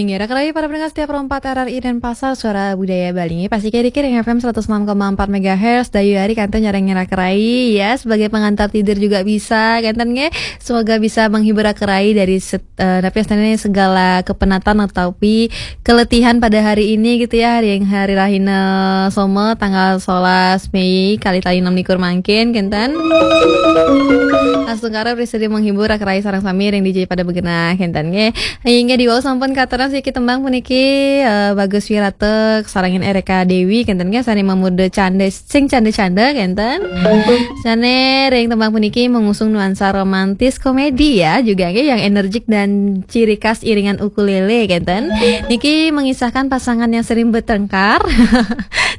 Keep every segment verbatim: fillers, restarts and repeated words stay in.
Ngira kerai para pendengar setia Pro empat R R I Denpasar, Suara Budaya Bali. Pasti kiri-kiri F M seratus enam koma empat megahertz, Dayu Ari kanto nyarang ngira kerai, ya, sebagai pengantar tidur juga bisa, kanten nge. Semoga bisa menghibur kerai dari set, eh, tapi istilahnya segala kepenatan atau pi keletihan pada hari ini gitu ya, hari yang hari Rahina Soma tanggal sebelas Mei kali tali enam likur mangkin, kanten. Langsung karep bisa menghibur kerai sarang sami ring D J pada begenah, kanten nge. Inggih, diwau sampun katurang siki tembang puniki, eh, Bagus Wirata sarengin Ereka Dewi, kanten nggih, sane mamurda canda, sing canda-canda, kanten. Sane ring tembang puniki mengusung nuansa romantis komedi ya, juga nggih, yang energik dan ciri khas iringan ukulele, kanten. Niki mengisahkan pasangan yang sering bertengkar,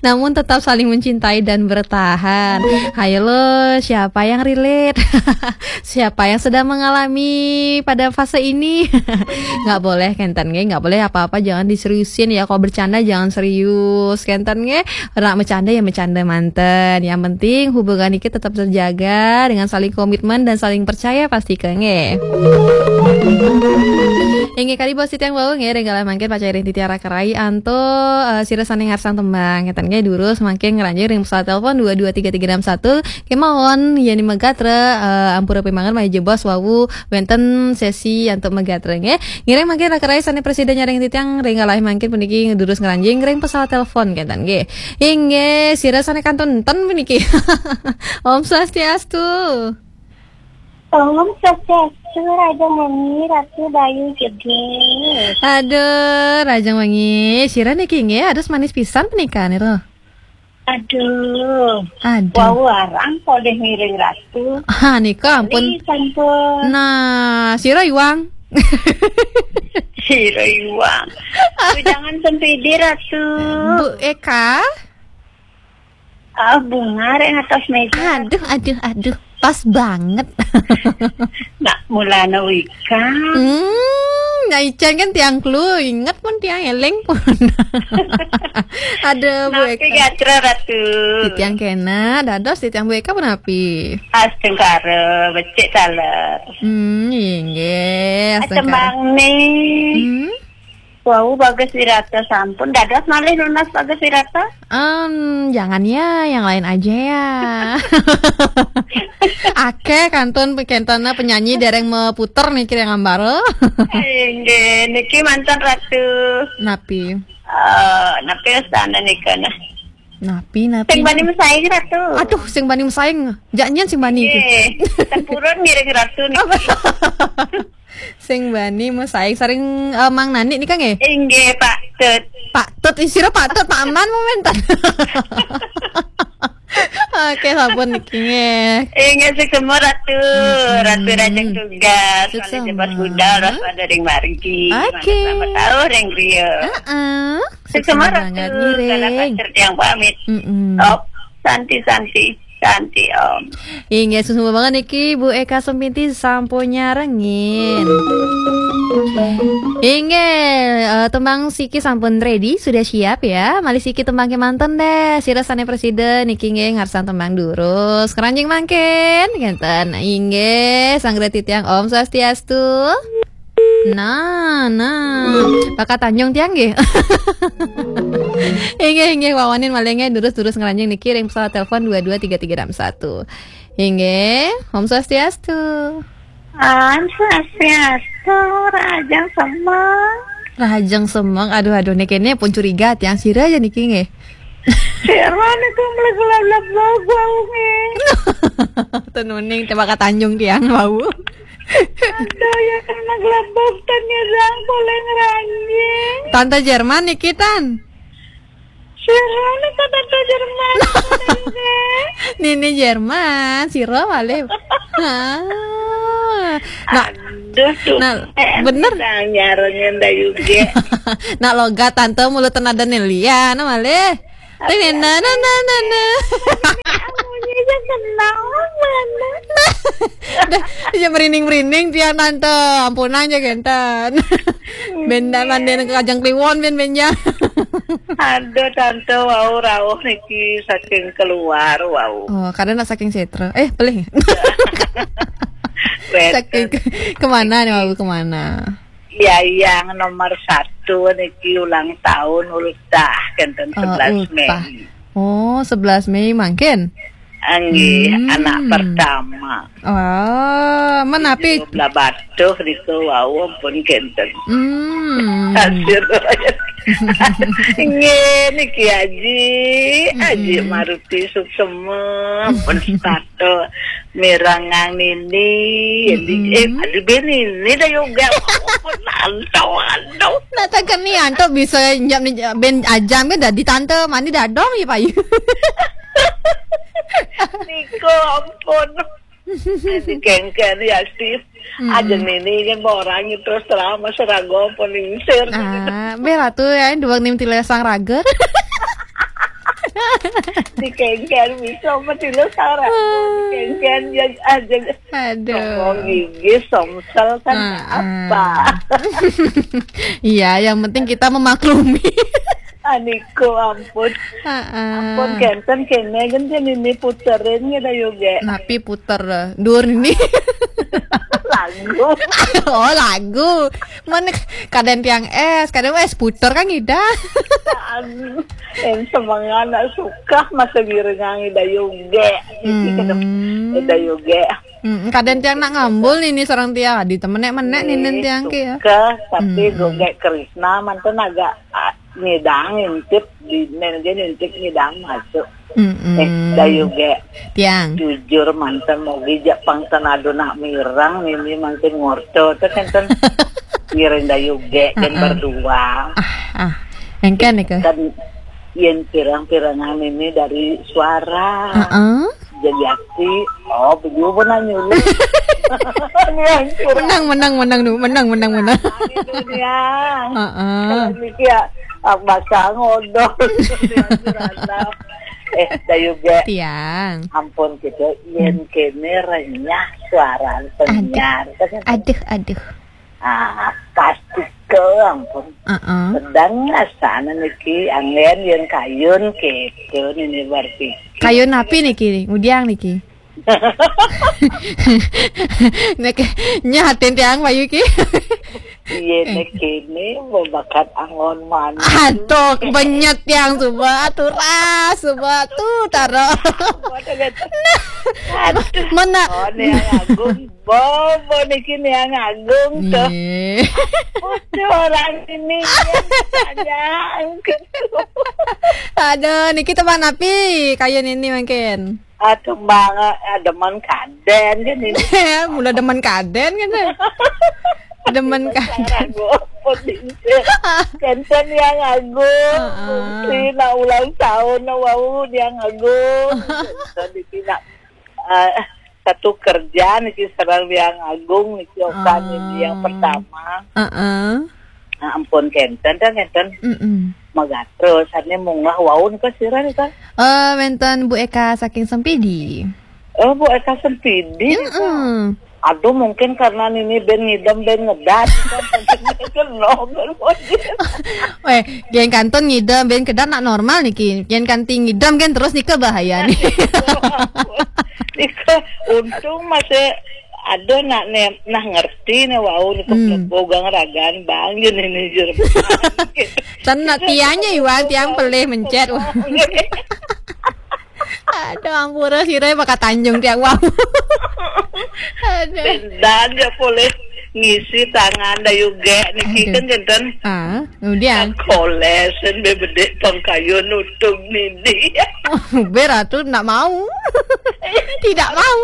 namun tetap saling mencintai dan bertahan. Hayo lo, siapa yang relate? Siapa yang sedang mengalami pada fase ini? Nggak boleh, kanten nggih, nggak boleh apa-apa, jangan diseriusin ya. Kalau bercanda jangan serius, kanten nggih. Ora bercanda ya bercanda manten. Yang penting hubungan iki tetap terjaga dengan saling komitmen dan saling percaya pasti ke nggih. Inggih kali bos titiang wau nggih, ring galah mangkin pacairin titiara kerai anto, eh, sira sane ngarsang tembang, kanten nggih, durus mangkin ngranjing ring pesawat telepon dua dua tiga tiga enam satu. Kemawon, yen megatre, eh, ampura pimangan maya jebos wau wenten sesi antuk megatre nggih. Ngiring mangkin kerai sane presiden nyareng titiang ring galah mangkin puniki ngedurus ngranjing ring pesawat telepon, kanten nggih. Inggih, sira sane kantun ten puniki. Om Swastiastu. Om Swastiastu, Raja Mami, Ratu Bayu Gede. Aduh, Raja Mami, sira niki nggih, aduh manis pisan punika niku. Aduh. Aduh. Wau arang kok deh ngiring Ratu. Ha, nika ampun. Ri sampun. Nah, sira iwang. Sira iwang. Bu, jangan sempidi, Ratu. Bu Eka. Ah, bunga rek atas meja. Aduh, aduh, aduh. Pas banget. Nak mulana Wika. Hmm, nah ican kan tiang kelu, inget pun tiang eling pun. Aduh, Bu Napi Eka. Gatra, Ratu. Di tiang kena, dados di tiang Bu Eka pun api. Astungkara, becik taler. Hmm, inggih, astungkara. Tembang nih. Hmm? Wau, Bagus Wirata sampun. Dados malih nunas Bagus Wirata? Em, jangan ya, yang lain aja ya. Akeh kantun kentana penyanyi dereng meputer niki yang ambaro. Inggih, niki mantan Ratu. Napi? Eh, napi astana nika nah. Napi, napi? Sing bani mesaing, Ratu. Aduh, sing bani mesaing. Jak nyen sing bani iki. Nggih, tempurun ngiring Ratu niki. Sing bani mesaing sareng, eh, Mang Nani nika nggih? Inggih, Pak Tut. Pak Tut, ih, sira Pak Tut, Pak Aman momentan. Oke, sampun niki nggih. Inggih, suksma Ratu. Mm-mm. Ratu Rajang Tugas, suksma. Malih jebos budal, ros pada ring margi. Oke. Mangga selamat tahun ring griya. Heeh. Suksma Ratu, banget, ngiring. Kala pasir tiang pamit. Mm-mm. Op, santi, santi. Santi, Om. Inggih, suksma banget niki Bu Eka Sempinti sampun nyarengin. Inggih, eh, tembang siki sampun ready, sudah siap ya. Malih siki tembang kemanten deh. Sira sane presiden niki nggih ngarsang tembang durus. Keranjing mangkin, ngenten. Inggih, sang titiang Om Swastiastu. Nah, nah. Bakat Tanjung tiang nggih. Inggih, inggih, wawanin malih nggih, durus-durus ngranjing niki ring pesawat telepon dua dua tiga tiga enam satu. Inggih, Om Swastiastu. Om Swastiastu, Rahajeng Semeng. Rahajeng Semeng, aduh, aduh, niki ne pun curiga tiang sira aja niki nggih. Sira niku mlebu lab-lab wau nggih. Tenuning teh Bakat Tanjung tiang wau. Aduh, ya kena gelabok tan nyerang poleng ranjing. Tante Jerman niki, Tan. Sira niku Tante Jerman. Nini Jerman, sira malih. Ah. Nah, aduh, tuh. Nah, eh, bener. Sang nyarengin Dayu ge. Nak logat Tante mulut tenadane lian malih. Ting nena, nena, nena. Amunyi aja kenal mana. Dah, aja merinding-merinding tiang Tante. Ampunang aja, genten. Benda manden ke Kajang Kliwon, ben benjang. Aduh, Tante, wau rauh niki saking keluar, wau. Oh, kadang nak saking setra. Eh, pelih. Saking ke-, kemana nih, wau, kemana? Yayang nomor satu niki ulang tahun, ultah kenten. Oh, sebelas Mei. Ultah. Oh, sebelas Mei mangkin. Nggih, hmm, anak pertama. Oh, menapi? Tujuh belas batuh niku wau pun kenten. Hmm. Hasil. Nggih, niki Aji, mm-mm, Aji Maruti Suksema pun sepatu mirengang nini, mm-mm, eh, aduh, ben ini dah yoga. Ampun, anto, anto. Nak tangkap ni, anto bisa nyap ni, ben ajam kan dah di tante, mani dadong ya payu. Niko, ampun. Dikengken ya, Steve. Mm-mm. Aja nini kan orang terus terang, mas rago pun lingsir. Ah, bela tu ya, dua nim tiga sang rager. Dikengken bisa mah tiga sang rager. Ah. Dikengken ya aja. Aduh. Songong gigi, somsel kan, ah, apa? Ah. Iya, yang penting kita memaklumi. Aniku, ampun. Heeh. Ampun, kenten kene, kenten ini puterin ya dah yoga. Napi puter, eh, dur ini? Lagu. Oh, lagu. Mana kadang tiang es, kadang es puter kan ngida. Anu, yang semangat nak suka masa giringan ida yoga. Hmm. Ida yoga. Hmm, kadang tiang nak ngambul ini seorang tiang. Di temenek-menek ini tiang ke ya. Suka, tapi, hmm, goga Krisna mantan agak, ah, ngidang intip di nen ge intip ngidang masuk. Mm-mm. Eh, dayu ge. Tiang. Jujur manten mogi jak pang tenado nak mirang, mimi manten ngorto. Itu kan ten ngiring dayu ge dan, heeh, berdua. Ah, ah. Engken nika. Kan yen pirang-pirangan ini dari suara. Heeh. Jadi aksi, oh, beliau pun nanya lu. Ini hancur. Menang, menang, menang, nu. Menang, menang, menang. Ini dunia. Heeh. Kalau mikir, ah, bakal ngodol. Eh, dayu ge. Tiang. Ampun, gitu. Yen kene renyah suara penyiar. Aduh, aduh, aduh. Ah, pasti ke, ampun. Heeh. Sedang ngrasakne niki anggen yen kayun, gitu, nini berpikir. Kayun api niki, ngudiang niki? Nek nyahatin tiang, Bayu ki. Iya, nek kene mau bakat angon manis. Aduh, benyet tiang, coba, atuh, ras, coba, tuh, taro. Waduh, gitu. Aduh, mana? Oh, nih, Agung. Bobo niki Niang Agung tuh. Iya. Udah orang ini ya, tanya. Aduh, niki teman api kayun ini mungkin. Aduh, banget, ah, demen kaden kan ini. Mula demen kaden kan. Demen kaden. Kenten Niang Agung. Heeh. Si nak ulang tahun, nak wau Niang Agung. Tadi tidak, eh, satu kerja niki sareng Niang Agung niki, okan ini yang pertama. Heeh. Nah, ampun kenten, dah kenten. Mm-mm. Magatro, sane munggah wau nika sira nika? Eh, wenten Bu Eka saking Sempidi. Oh, Bu Eka Sempidi nika. Mm-mm. Aduh, mungkin karena nini ben ngidem, ben ngedat. Kena, ben. Weh, yen kantun ngidem, ben kedat nak normal niki. Yen kanti ngidem kan terus nika bahaya nih. Nika untung masih ada nak ne-, nah ngerti ne wau nika. Hmm. Mlebo gang ragan bang, yen ini jerman. Ten nak tiangnya Iwan, tiang pelih mencet. Wah. Aduh, ampura sira bakal tanjung tiang wau. Aduh. Dan dia boleh ngisi tangan dayu ge niki. Aduh. Kan kenten. Ah, kemudian? Kolesen bebedek pangkayo nutung nini. Ber atuh nak mau. Tidak mau.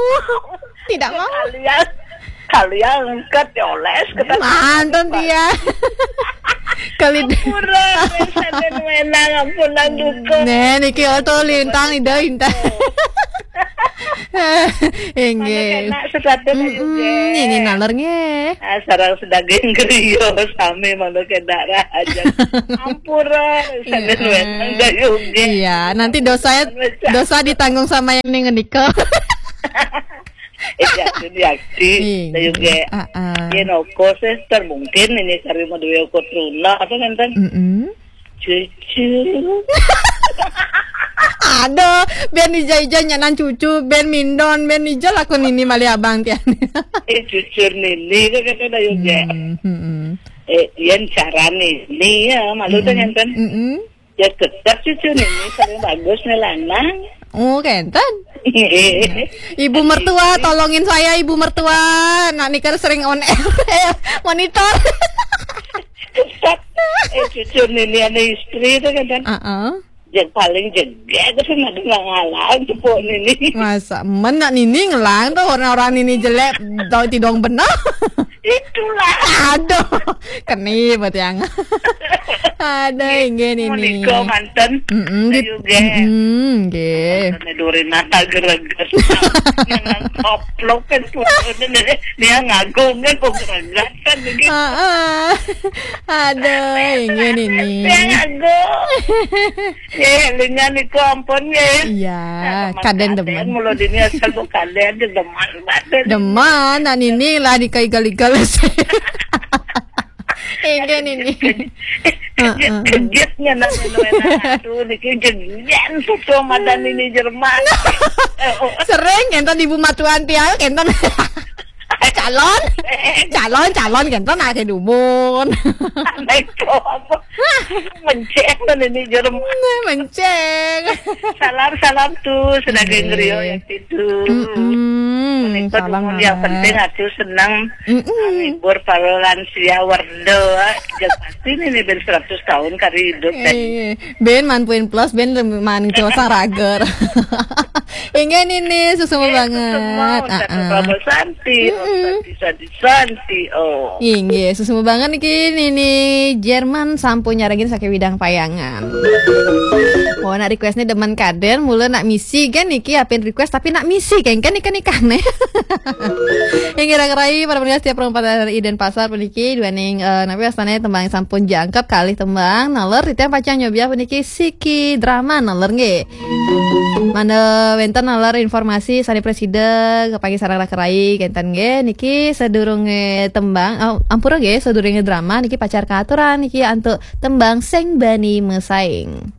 Tidak mau. Kalian, kalian angkat ya oles, kita mantan dia. Kali d- Ampura, wis, sampeyan menang, ampun, nang duka. Nen, iki oto lintang, ida, intan. Inggih. Mana kena sesuatu. Mm-mm, juga. Ini nalar nggih. Ah, sarang sedaging griya, sami malu kena rahaja. Ampura, sampeyan menang, dayu nggih. Iya, nanti dosa, dosa ditanggung sama yang ning ngenika. Eh, yakin, yakin. Iya. Saya juga. Ah, ah. Yen oko sih, ter mungkin ini kari mau duwe oko truna, apa ngenten? Mm-mm. Cucu. Aduh, ben ija-ija nyanan cucu, ben mindon, ben ija lakon ini malih abang tian. Eh, cucur nini, kan kata dah juga. Hmm, hmm, hmm. Eh, yen carane ini ya, malu tuh ngenten. Mm-mm. Ya tetap cucu ini paling bagus nih lanang. Oh, kenten. Ibu mertua, tolongin saya, ibu mertua. Nak nikah sering on air. Eh, monitor. Tetap eh cucu ini ane istri itu kan kan. Heeh. Yang paling jegek itu sih nggak ngalang cepuk ini. Masa men nak nini ngelang tuh orang-orang nini jelek, tau tidong benar. Itulah. Aduh, keni buat yang. Aduh, inggih nini. Menika manten. Mm-mm, di- Ayo ge. Mm-mm, nggih. Ini duri nata gereges. Yang koplok kan pun dia ngagung kan kok geregesan begitu. Heeh. Aduh, inggih nini. Dia ngagung. Ya, lingan niku ampun ya. Iya, kaden demen. Mula dini asal bu kaden demen batin. Demen, nak nini lah dikaigal-igal. Inggih nini. Kejut-kejutnya nang nuena aduh niki jegen tuh madan ini Jerman. Oh, Sering kenten ibu matuan tiang kenten. Calon, calon, calon kenten akeh dumun. Naik apa? Menceng dan ini Jerman. Menceng. Salam salam tuh sebagai Iya. Ngeriyo yang itu. Mm-mm, Menika salam dumun yang Mama. Penting aku senang Mm-mm. menghibur para lansia warga. Yang pasti ini ben seratus tahun kari hidup dan Eh, ben manpuin plus, ben man cosa rager. Inggih nini, susumu banget. Semua Ustaz Ah, ah. Prabowo Santi, Ustaz Santi, Santi, oh. Inggih, susumu banget niki nini Jerman sampun nyarengin saking Widang Payangan. Oh, nak request nih demen kaden, mula nak misi kan niki apin request tapi nak misi kan kan ikan ikan nih. Inggih raka rai para pendengar setiap perempatan hari Denpasar puniki duaning eh, napi wastane tembang sampun jangkep kalih tembang naler titiang pacang nyobiah puniki siki drama naler nggih. Mangda wenten naler informasi sane prasida kepanggih sareng raka rai kenten nggih niki sadurunge tembang oh, ampura nggih sadurunge drama niki pacar kaaturan niki antuk tembang sing bani mesaing.